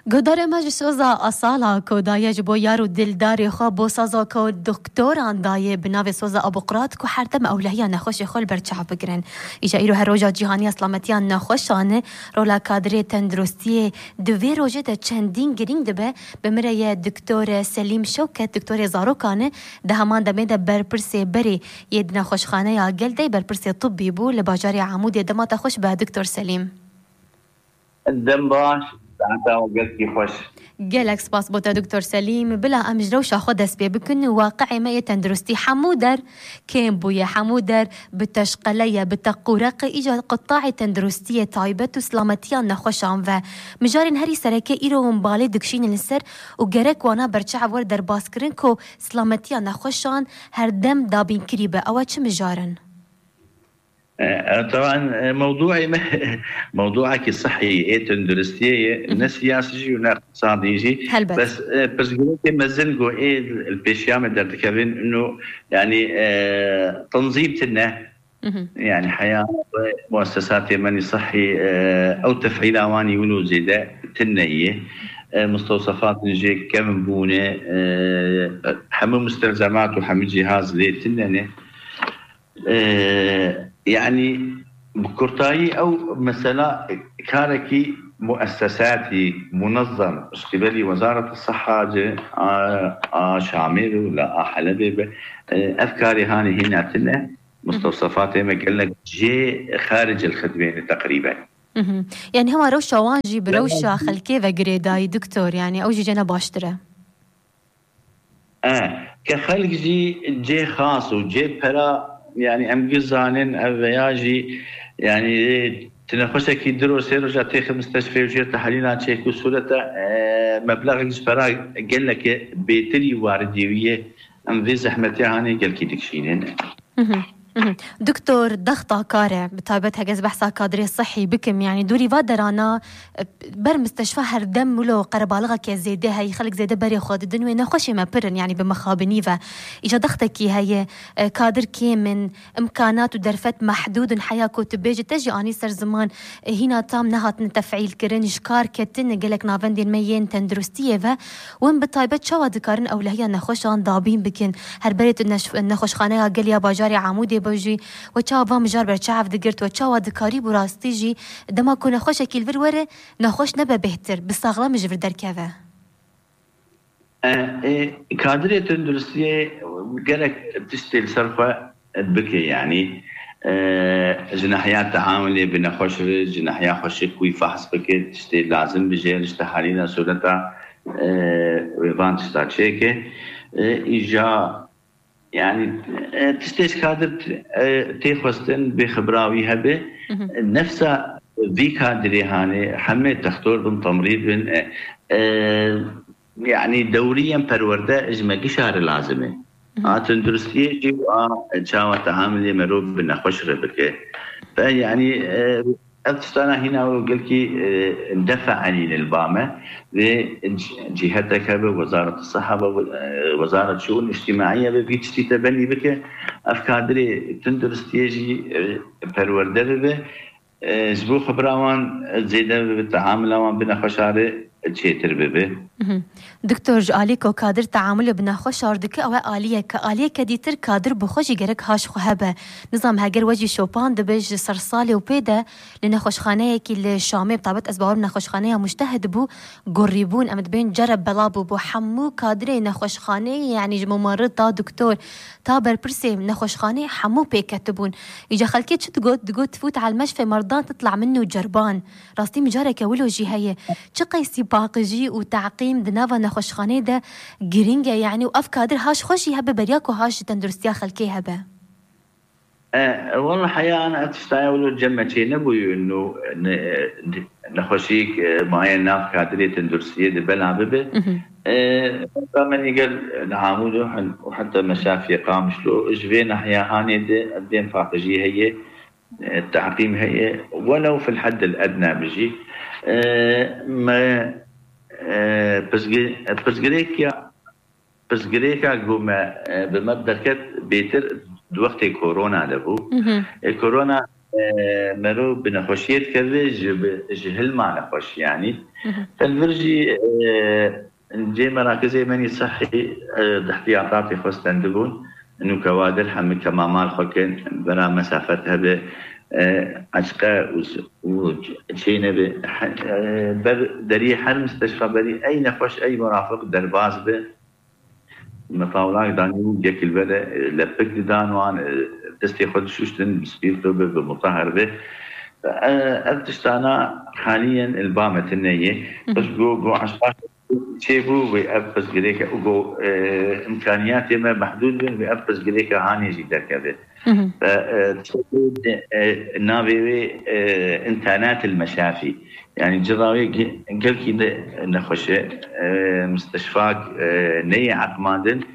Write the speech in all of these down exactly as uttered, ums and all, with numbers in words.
Guhdarê me ji soza Asala ku daye ji bo yar û dildarê xwe bo saza ku doktoran dayê bi navê soza Abuqrat ku her dem ewlehiya nexweşê xwe li ber çav bigirin. Îja îro her roja cîhanî ya silametiya nexweşan e, rola kadirê tenduristiyê di vê rojê de çendîn girîng dibe. Bi min re ye doktor Selîm Şewket, doktorê zarokan e, di heman demê de berpirsê berê yê di nexweşxaneya Gel de berpirsê tibbî bû li bajarê Amûdê. Dema te xweş be doktor Selîm. Dem baş, saeta we gelkî xweş. Gelek spas bo te doktor Selîm. Bila em ji rewşa xwe dest pê bikin. Waqi'ê me yê tenduristî hemû der kêm bûye, hemû der bi teşqele ye, bi teqûreq e. Îca qutaê tenduristiyê taybet û silametiya nexweşan ve mijarên herî sereke îro hûn balê dikişînin li ser û gerek wana berçav were derbas kirin ku silametiya nexweşan her dem dabînkirî be. Ew çi mijar in? E, e, teban, e, mewduê me, mewduekî sihî ê tenduristiyê ye, Hı hı. Ne siyasî jî û ne iqtisadî jî. Helbet. Bes, e, pirsgirêkê mezin ku ê li pêşiya me derdikevin, ino, yanî, e, tenzîm tune. Hı hı. Yanî heya muessesatê me nî sihî, e, ew tefîla wan î wilo zêde tune ye. E, mustewsefatên jê kevn bûne, e, hemû mustelzemat û hemû cihaz lê tune ne. E, yanî bi kurtayî ew mesela karekî muessesatî, munezzem ji qîbelî Wezaret Siha ci a, a Şamê be û la a Helebê be, e, ev karê hanê hîna tune, mustewsefatê me gelek jê xaricil xidmê ne teqrîben. Mhm. Yani hema rewşa wan jî bi rewşa xelkê ve girêdayî, doktor, yani ew jî cene baştir e. E, ke xelk jî cê xas û cê pera, yani em giş zanin ev veya jî, yani, e, tu nexweşekî du roj sê roja têxi misteshfê û jê tehlîlan çêk û sûrete, e, meblexek ji pera geleke bêtirî waridî wî ye. Em vê zehmetiya hanê gelkî dikişînin. Mhm, mhm. Doktor, dexta kar e, bi taybet heke ez behsa kadrê sihî bikim, yani dûrî va derana, e, ber misteshfa her dem wilo qerebalixeke zêde heyî, xelk zêde berê xwe didin wê, nexweşê me pir in, yani bi mixabinî ve. Îca dextekî heye, e, kadir kêm in, imkanat û derfet mehdûd in, heya ku tu bêjî te jî anî ser ziman, e, hîna tam nehatine tefîl kirin, ji kar ketin, gelek navendên me yên tenduristiyê ve, win bi taybet çawa dikarin ewlehiya nexweşan dabîn bikin? Her berê tu neş-, nexweşxaneya Gel ya bajarê Amûdê be jî, we çawa van mijar berçav digirt, we çawa dikarî bi rastî jî dema ku nexweşekî li vir were, nexweş nebe bêhtir, bi saxlem ji vir derkeve? E, e, kadirê tenduristiyê gerek tiştê li ser xwe bike, yanî, e, ji nahiya teamulê bi nexweş re, ji nahiya xweşik wî fehs bike, tiştê lazim bi jê re, ji tehalîna sûreta, e, wê van tişta çêke. E, îja, yanî, e, tiştê ji kadir, e, tê xwestin bê xibra wî hebe. Mhm. Nefsa vî kadirê hanê hemê textor bin, temrîd bin, e, e, yanî dewriyên perwerde ji me gişa re lazim e. Mhm. A tenduristiyê jî û a çawa tehamilê merov bi nexweş re bike. Ve yanî, e, ev tiştana hîna wilo gelkî, e, defa enîne li ba me. Vê c-, cîhetek hebe, Wezaret Siha be, e, Wezaret Şûn Îctimaiye be, vî tiştî te benî bike. Ev kadirê tenduristiyê jî, e, perwerde bibe. E, ji bo xibira wan zêde bibe, teamula wan bi nexweşa re çêtir bibe. Mhm. Doktor, ji alî ku kadir teamulê bi nexweşar dike, ew e aliyeke. Aliyeke dîtir kadir bi xwe jî gerek haş xwe hebe. Nizam heger we jî şopan dibe ji sersalê û pê de li nexweşxaneyekî li Şamê, bi taybet ez bawerim nexweşxaneya Mujtehid bû, gurîbûn, em dibên cereb bela bû bo hemû kadirê nexweşxaneyê, yanî ji mumarrid ta doktor, ta berpirsê nexweşxaneyê hemû pê ketibûn. Îca xelkê çi digot? Digot, "Tfût al meşfe merdan titla minnu cerban." Rastî mijareke wilo jî heye. Çi qeysî paqijî û teqîm di nava nexweşxaneyê de girîng e, yanî û ev kadir haş xwe jî hebe beriya ku haş ji tenduristiya xelkê hebe. E, wela heya ana ev tiştaya wilo cem me çê nebûyû, ino ne, nexweşîk, e, maye nav kadirê tenduristiyê de bela bibe. Mhm. E, me nîger li Amûd û hen-, û heta meşafiye Qamişlo, ji vê nahiya hanê de ev bên paqijî heye, e, teqîm heye, welew fil heddil edna bijî. E, me, e, pirsgi-, pirsgirêk ya Pirsgirêka ku me, e, bi me derket bêtir di wextê korona de bû. Mhm. E, korona e, mero bi nexweşiyê dikeve, ji bi, ji hilma nexweş yanî. Hı hı. Li vir jî, e, cê merakizê menî sihî, e, di ihtiyatatê xwe stendibûn. Nûke wa dir hemî kemamal xwe kin, bera mesafet hebe, e, eşqe û, û çê nebe, he, e, ber deriyê her misteşfa berî ey nexweş, ey murafiq derbas be. Metawlak danî û yek li vere, e, lepik didan wan, e, destê xwe dişuştin, bi spîrto be, bi mutahhir be. E, ev tiştana haliyen li ba me tune ye. Hı hı. Pirs got, got eşqa çêbû wê ev pirsgirêke û got, e, imkaniyatê me mehdûd bin, wê ev pirsgirêke hanê jî derkeve. Hı hı. Ve, e, tiştekê, e, navê wê, e, înternet il meşafî. Yani cira wê ge-, gelkî ne, nexweş e, e, misteşfak, e, neyê eqmandin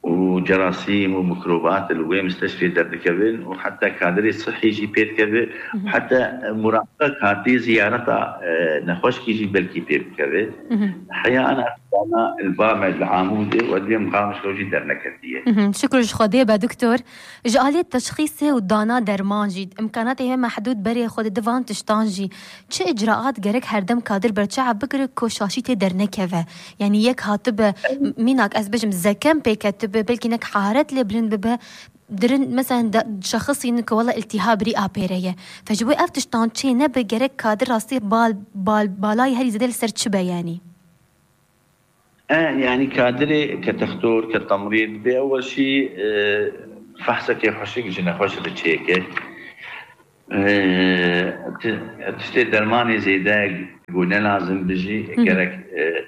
û cerasîm û mikrobat li wê misteşfê derdikevin û heta kadirê sihî jî pê dikeve, Hı hı. heta muraqek hatî ziyareta, e, nexweşkî jî belkî pê bikeve. Hı hı. Heya ana dana li ba me li Amûdê û ez dibêm Qamişlo jî derneketiye. Hı hı. Şikir ji Xwedê be, doktor. Ji aliyê teşxîsê û dana derman jî, imkanatê me mehdûd berê xwe dide van tiştan jî. Çi icraat gerek herdem kadir berçav bigire ku şaşî tê dernekeve? Yani yek hatibe, m-, mînak ez bêjim zekem pê ketibe, belkî nek hararet lê bilind bibe, dirin mesela de, şexisînin ku wela iltihab rî apêre ye. Fe ji bo ev tiştan çê nebe gerek kadir rastî bal, bal, balayî herî zêde li ser çi be yani? E, yani kadirê ke textor, ke temrîd bê, ewel şî, e, fehsekê xweşik ji nexweş re çêke. E, ti-, tiştê dermanê zêde ku ne lazim bijî, Hı hı. gerek, e,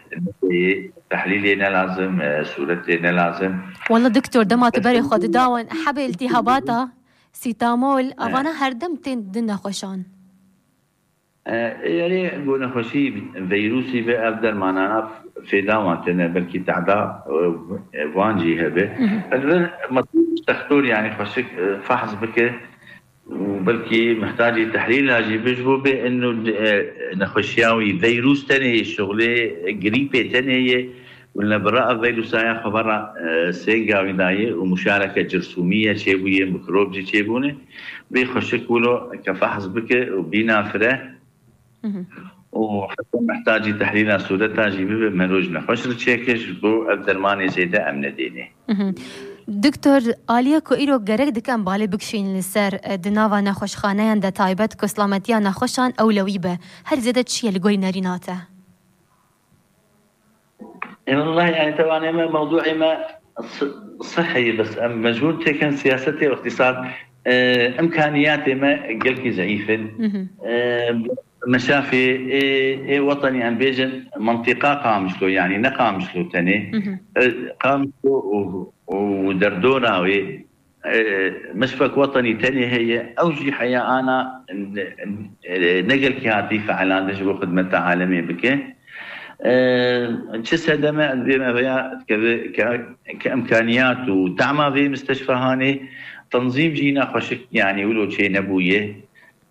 tehlîlê ne lazim, e, sûretê ne lazim. Walla doktor, dema tu berê xwe didawin, hebê iltihabata, sîtamol, E. avana herdem tên din nexweşan. E, erê, ku nexweşî veyrûsî ve ev dermanana fêda wan tine, belkî tehda, e, van jî hebe. Hı hı. Li vir metûr textor, yani xweşik, e, fehs bike û belkî mihtacî tehlîla jî bi, ji bo bê inu, e, nexweşiya wî veyrûs tenê ye, şixulê grîpê tenê ye. Wila bira ev veyrûsaya xwe vera, e, sênga wî dayê û muşareke cirsûmî ye çêbûye, mikrob jî çêbûne. Bê xweşik wilo ke fehs bike û bîna fire. Hı hı. Û heta mihtacî tehlîla sûreta jî bibe, meroj nexweş re çêke, ji bo ev dermanê zêde em nedêne. Hı hı. Doktor, aliyê ku îro gerek dike em balê bikişînin li ser, e, di nava nexweşxaneyan de taybet ku silametiya nexweşan ewlewî be, her zêde çi ye li gorî nerîna te? E, wellahî, yani, tewanê me, mewdûê me si-, sihî, bes em mecbûr têkin siyasetê û îqtîsad, e, imkaniyatê me gelkî zeîf in. Hı hı. E, meşafê, ê, ê wetenî em bêjin, mentiqa Qamişlo, yani ne Qamişlo tenê. Hı hı. E, Qamişlo û, û derdora wê, e, meşfek wetenî tenê heye, ew jî heya ana, e, ne gelkî hatî feelandin ji bo xidmeta alemê bike. E, çi sedeme ez bêm eveya ke, ke, ke imkaniyat û dema vê misteşfehanê, tenzîm jî ne xweşik, yani wilo çê nebûye.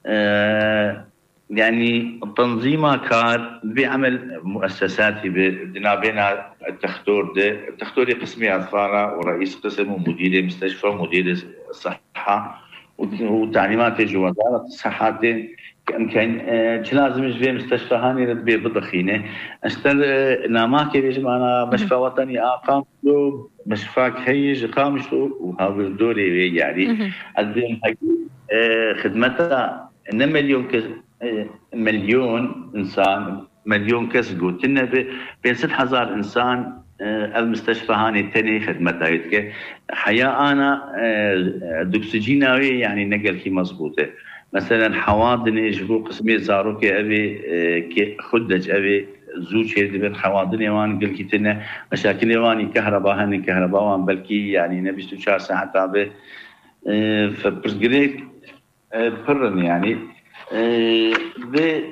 E, Yani, tenzîma kar, divê emel muessesatî bi, di navbêna textor de, textorê qismê etfara û reîs qism û mudîrê misteşfa, mudîrê siha û, û talîmatê ji wezaret siha tên, ke imkan, e, çi lazim ji vê misteşfahanê re divê bidixîne. Ez ter, e, namakê bêjim, ana Hı hı. meşfa wetenî a Qamişlo, meşfak heye ji Qamişlo û hawirdorê wê, yani. Hı hı. Ez dibêm hek, e, xidmeta ne milyon kes, e, milyon insan, milyon kes gotin nebe, pênc sed hezar insan, e, ev misteşfahanê tenê xidmeta wê dike. Heya ana, e, e, doksijîna wê, yani, ne gelkî mezbût e. Meselen, hewa dinê ji bo qismê zarokê evê, e, ke xudec evê zû çêdibin, hewa dinê wan gelkî tune. Meşakilê wan î kehreba hene, kehreba wan belkî, yani, ne bîst û çar saeta be. E, fe-, pirsgirêk e, pir in, yani. E, vê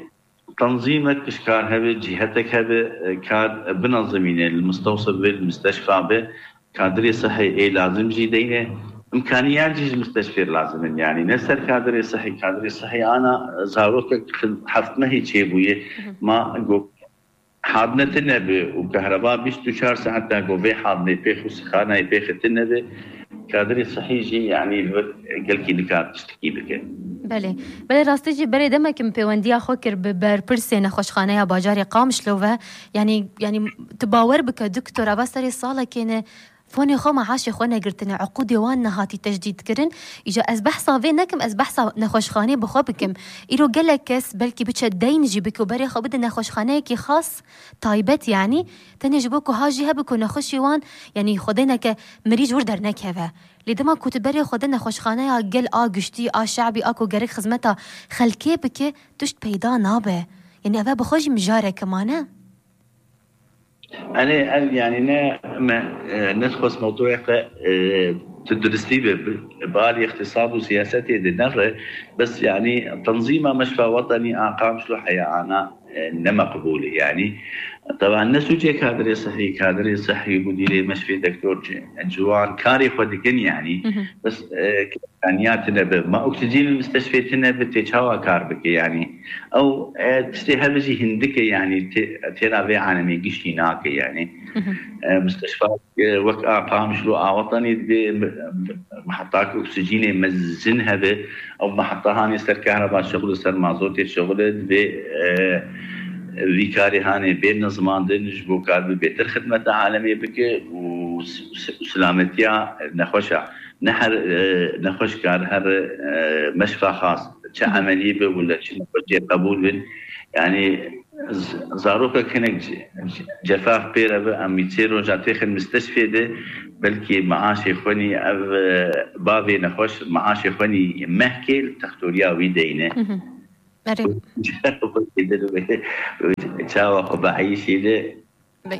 tenzîmek ji kar hebe, cîhetek hebe, e, kar binezimîne, li mistewsif be, li misteşfa be, kadirê sihê ê lazim jî deyne, imkaniyat jî ji misteşfê lazim in, yani. Ne ser kadirê sihê, kadirê sihê ana, e, zarokek heft mehî çêbûye, Hı hı. ma go-, Hadne tune be û kehreba bîst û çar saet da ku vê hadnê pêx û sixanayê pêxê tune be, Kadirê sihî jî, yanî, li vir gelkî nikar tiştekî bike. Belê. Belê, rastî jî berê demek min pêwendiya xwe kir bi berpirsê nexweşxaneya bajarê Qamişlo ve. Yanî, yanî tu bawer bike, doktor, eva serê salekê ne fonê xwe, meaşê xwe negirtine, uqûdê wan nehatî tecdîd kirin. Îca ez behsa vê nekim, ez behsa nexweşxanê bi xwe bikim. Îro gelek kes belkî biçe deyn jî bike û berê xwe bide nexweşxaneyekî xas, taybet, yanî, tenê ji bo ku ha jî hebe ku nexweşî wan, yanî, xwedêneke mirî ji wir dernekeve. Lê dema ku tu berê xwe de nexweşxaneya gel a giştî, a şe'bî, a ku gerek xizmeta xelkê bike, tişt peyda nabe. Yanî, eve bi xwe jî mijareke mane. Enê ev, yanî, ne me, e, nedixwest mewduê xwe, e, tu duristî be, bi, bi alî îqtisad û siyasetê de nere, bes, yanî, tenzîma meşfa wetenî a Qamişlo heya ana, e, ne meqbûl e, yanî. Teban ne sûcê kadirê sihî, kadirê sihî, mudirê meşfê, doktor ci-, ciwan karê xwe dikin, yanî. Hı hı. Bes, e, Tenya tine be, ma oksijîn li misteşfê tine be, tê çawa kar bike, yanî? Ew, e, tiştê hebe jî hindike, yanî, tê, têra vê alemê giştî nake, yanî. Hı hı. E, misteşfa, e, wek a Qamişlo a wetenî dibe, m-, m-, mehetak oksijînê mezin hebe, ew meheta hanê ser kehreba şixul, ser mazotê şixul dibe, e, vî karê hanê bê nizmandin, ji bo kar bi bêtir xidmeta alemê bike û s-, s-, silametiya nexweşa. Ne her, e, nexweş kar her, e, meşfa xas, çi Hı hı. emeliyê be wila çi nexweşiyê qebûl bin. Yanî z-, zarokek hinek ce-, cefaf pê re be, em wî çê roja têxin misteşfê de, belkî meaşê xwe nî ev, e, bavê nexweş meaşê xwe nî mehkê li textoriya wî deyne. Hı hı. Erê. Çawa xwe bieyîşî de.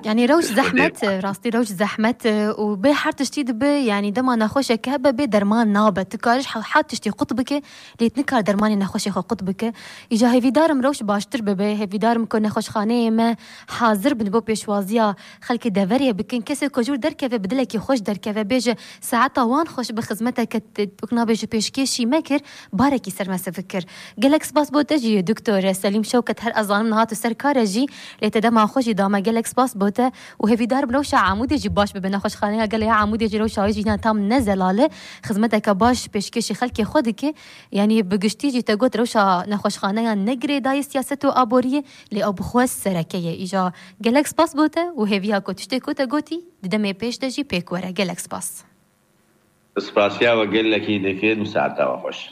Yanî rewş zehmet e, rastî rewş zehmet e û bê her tiştî dibe, yanî dema nexweşeke hebe bê derman nabe. Tu karî ji he-, her tiştî qut bike, lê tu nikar dermanê nexweşê xwe qut bike. Îca hêvîdarim rewş baştir bibe, hêvîdarim ku nexweşxaneyê me hazir bin bo pêşwaziya xelkê deverê bikin. Kesê ku ji wir derkeve bi dilekî xweş derkeve, bêje saeta wan xweş bi xizmeteke t-, wek nabêje pêşkêşî me kir, barekî ser me sivik kir. Gelek spas bo te jî, Doktor Selîm Şewket, her ez zanim niha tu ser kar e jî, lê te dema xwe jî da me, gelek spas bo te û hêvîdar im rewşa Amûdê jî baş bibe. Nexweşxaneya Gelê ya Amûdê jî rewşa wê jî ne tam ne zelal e. Xizmeteke baş pêşkêşî xelkê xwe dike. Yanî bi giştî jî te got rewşa nexweşxaneyan ne girêdayî siyaset û aboriyê, lê ew bi xwe sereke ye. Îja gelek spas bo te û hêviya ku tiştê ku te gotî di demê pêş de jî pêk were. Gelek spas. Spasiya we gelekî dikin û saeta we xweş.